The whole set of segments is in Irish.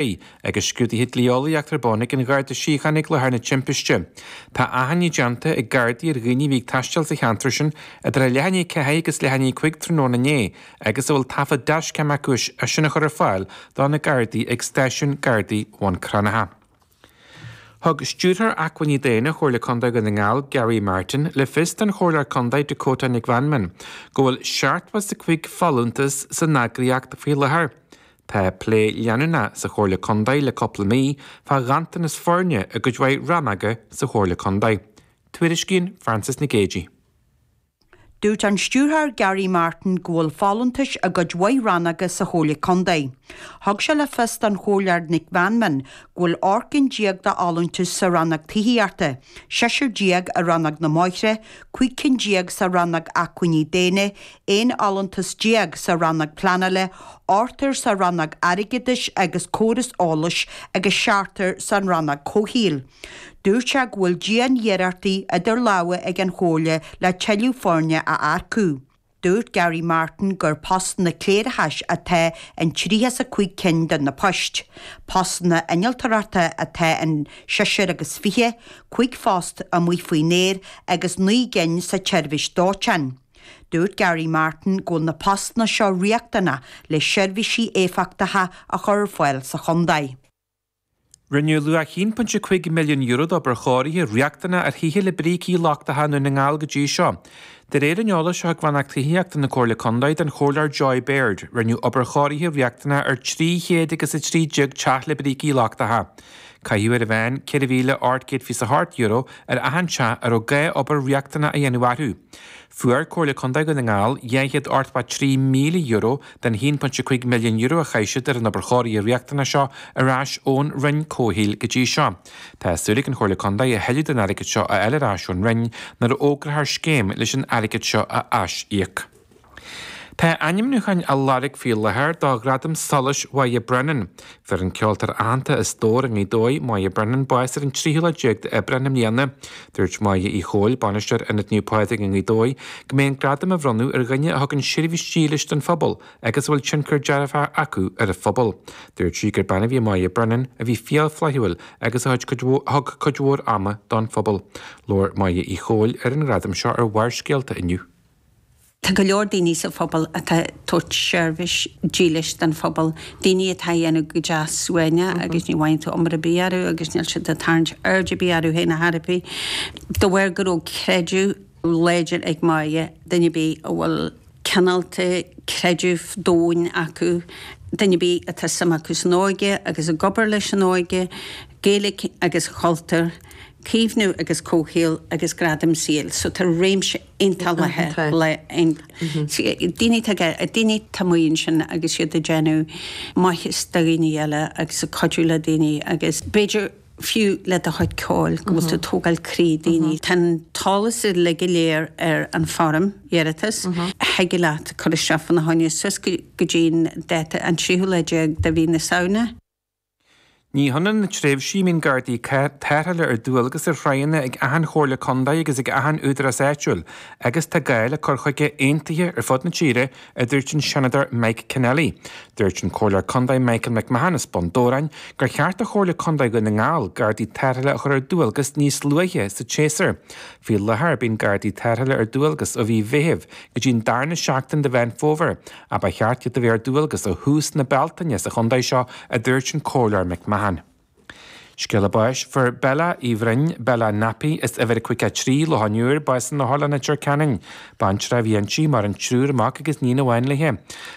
Agus scrúduithe dlí-eolaíochta ar bun ag an Gharda Síochána ag láthair na timpiste. Tá achainí déanta ag Gardaí ar dhaoine a bhí ag taisteal sa cheantar sin idir a leath i ndiaidh 4 agus leath i ndiaidh 5 tráthnóna inné agus a bhfuil taifead dashcam acu é sin a chur ar fáil do na Gardaí ag Stáisiún Gardaí Bhun Cranncha. Thug Stiúrthóir Acmhainní Daonna Chomhairle Contae Dhún na nGall, Gary Martin, le fios don Chomhairleoir Contae Dakota Nic Mheanman go bhfuil 75 folúntas san eagraíocht faoi láthair. Tá plé leanúnach sa Chomhairle Contae le cúpla mí fá ghanntanas foirne i gcuid mhaith rannóga sa Chomhairle Contae. Tuairiscíonn Frances Nic Géadaigh. Dúirt an Stiúrthóir Gary Martin go bhfuil folúntais i gcuid mhaith rannóga sa Chomhairle Contae. Thug sé le fios don Chomhairleoir Nic Mheanman go bhfuil 18 gcinn d'fholúntais sa rannóg tithíochta, seisear déag i rannóg na mbóithre, 15 cinn sa rannóg acmhainní daonna, 11 fholúntas sa rannóg pleanála, ochtar sa rannóg airgeadais agus córas eolais agus seachtar san rannóg comhshaoil. Dúirt sé go bhfuil dian-iarrachtaí idir lámha ag an Chomhairle le tuilleadh foirne a earcú. Dúirt Gary Martin gur postanna cléireachais atá in 35 cinn de na poist. Postanna innealtóireachta atá in seisear agus fiche, 5 phost amuigh faoin aer agus 9 gcinn sa tseirbhís dóiteáin. Dúirt Gary Martin go bhfuil na postanna seo riachtanach le seirbhísí éifeachtacha a chur ar fáil sa chontae. Rinneadh luach €1.5 milliún d'obair chóirithe riachtanach ar thithe le brící lochtacha i nDún na nGall go dtí seo. De réir an eolais a thug Rannóg Tithíochta na Comhairle Contae don Chomhairleoir Joy Baird, rinneadh obair chóirithe riachtanach ar 300 agus 13 teach le brící lochtacha. Caitheadh ar an mheán €4,828 ar achan teach a raibh gá obair riachtanach a dhéanamh orthu. Fuair Comhairle Contae Dhún na nGall €283,000 den €1.5 milliún a chaith siad ar an obair chóirithe riachtanach seo ar ais ón Roinn Comhshaoil go dtí seo. Tá súil ag an Chomhairle Contae a thuilleadh den airgead seo a fháil ar ais ón Roinn nuair a fhógrófar scéim leis an airgead seo a aisíoc. Tá ainmniúcháin á lorg faoi láthair do Ghradam Solais Mháire Brennan. Fuair an ceoltóir aitheanta as Dobhar i nGaoth Dobhair, Máire Brennan, bás ar an tríú lá déag d'Aibreán i mbliana. Dúirt Máire Uí Chomhail, Bainisteoir Ionad Naomh Pádraig i nGaoth Dobhair, go mbeidh an gradam á bhronnadh ar dhuine a thugann seirbhís dílis don phobal agus a bhfuil tionchar dearfach acu ar an phobal. Dúirt sí gur bean a bhí i Máire Brennan a bhí fial flaithiúil agus a thug cuid mhór ama don phobal. Labhair Máire Uí Chomhail ar an ghradam seo ar Bharrscéalta inniu. Tá go leor daoine sa phobal atá ag tabhairt seirbhís dílis don phobal, daoine atá a dhéanamh go deas suaimhneach agus ní bhfaigheann tú iomrá ar bith orthu agus níl siad ag tarraingt aird ar bith orthu féin ar chor ar bith. De bharr go raibh creideamh láidir ag Máire, duine ar bith a bhfuil cineálta creideamh domhain acu, duine ar bith atá suim acu san óige agus ag obair leis an óige, Gaeilge agus cultúr, caomhnú agus comhshaol agus gradaim saoil. So tá réimse iontach le daoine atá daoine atá amuigh ansin agus iad ag déanamh maitheas do dhaoine eile agus ag cuidiú le daoine agus b'fhéidir fiú le do chuid ceoil go bhfuil tú ag tógáil croí daoine. Tá an t-eolas uilig go léir ar an foirm iarratais. Thig leat cur isteach fána choinne suas go dtí an dáta an tríú lá déag de mhí na Samhna. Ní hionann na tréimhsí a mbíonn Gardaí Tarrthála ar dualgas ar thráigheanna ag achan Chomhairle Contae agus ag achan Údarás Áitiúil agus tá gá le cur chuige aontaithe ar fud na tíre, a dúirt an Seanadóir Mike Kennelly. Dúirt an Comhairleoir Contae Michael McMahon as Bun Dobhráin gur cheart do Chomhairle Contae Dhún na nGall Gardaí Tarrthála a chur ar dualgas níos luaithe sa tséasúr. Faoi láthair bíonn Gardaí Tarrthála ar dualgas ó mhí Mheithimh go dtí an darna seachtain de Mheán Fómhair Ach ba cheart iad a bheith ar dualgas ó thús na Bealtaine sa chontae seo, a dúirt an Comhairleoir McMahon. Scéala báis, Fuair Bella Uí Bhroin, Bella Nappy, as uimhir 53, Loch an Iúir, bás in Otharlann Leitir Ceanainn. Baintreach a bhí inti, maireann triúr mac agus níon amháin léi.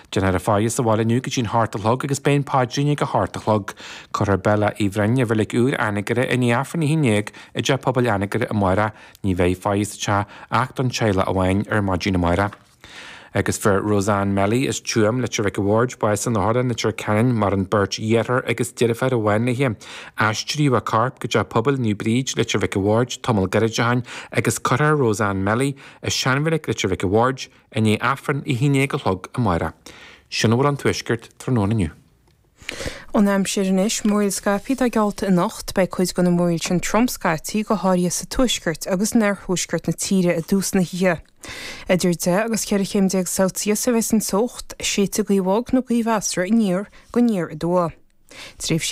Déanfar a faire sa bhaile inniu go dtí'n hocht a chlog agus beidh an paidrín ag a hocht a chlog. Cuirfear Bella Uí Bhroin i Reilig Úr Anagaire i ndiaidh Aifreann a 11 i dTeach Pobail Anagaire amárach. Ní bheidh faire sa teach ach don teaghlach amháin ar maidin amárach. Agus fuair Roseanne Melly as Tuaim, Leitir Mhic a' Bhaird, bás in Otharlann Leitir Ceanainn, maireann beirt dheartháir agus deirfiúr amháin léi. Aistríodh a corp go Teach Pobail Naomh Bríd, Leitir Mhic a' Bhaird, tamall gairid ó shin agus cuirfear Roseanne Melly i seanreilig Leitir Mhic a' Bhaird i ndiaidh Aifreann a 11 a chlog amárach. Sin a bhfuil ón Tuaisceart tráthnóna inniu. An aimsir anois, Múraíl scaipthe atá geallta anocht. Beidh cuid de na múraíl sin trom scaití, go háirithe sa tuaisceart agus in oirthuaisceart na tíre i dtús na hoíche. Idir 10 agus 14 chéim Celsius a bheas an teocht, séidfidh gaoth bhog nó gaoth mheasartha aniar go aniar aduaidh. Tréimhsí.